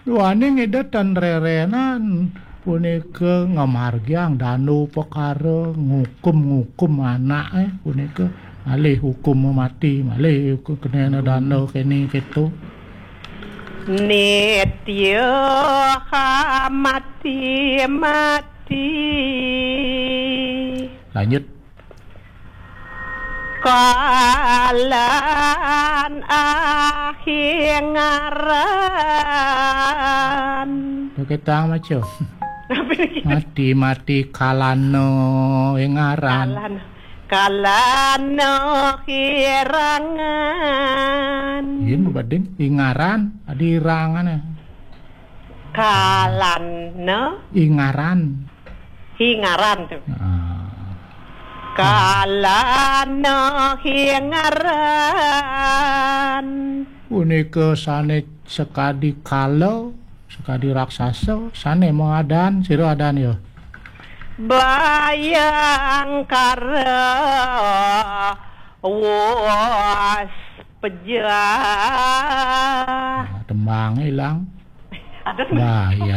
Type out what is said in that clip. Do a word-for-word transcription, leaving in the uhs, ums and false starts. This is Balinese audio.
Duaning Ida tan rerenan punika ngamargiang dana upakara, ngukum-ngukum anake punika malih hukum mati, malih kenena dana kene keto. Nitya mati mati. Lanjut. Kalan ahingaran. Oke, tang maca. Mati-mati kalana ingaran. Kalan, kalana hirangan. Yen bading ingaran, adi irangan ya. Kalana. Ingaran. Hingaran tuh. Ah. Kalana hingaran. Punika sane sekadi kala, sekadi raksasa, sane maadan, sira adan ya. Bayangkara was pejah. Nah, tembang ilang. Aduh. Bahaya.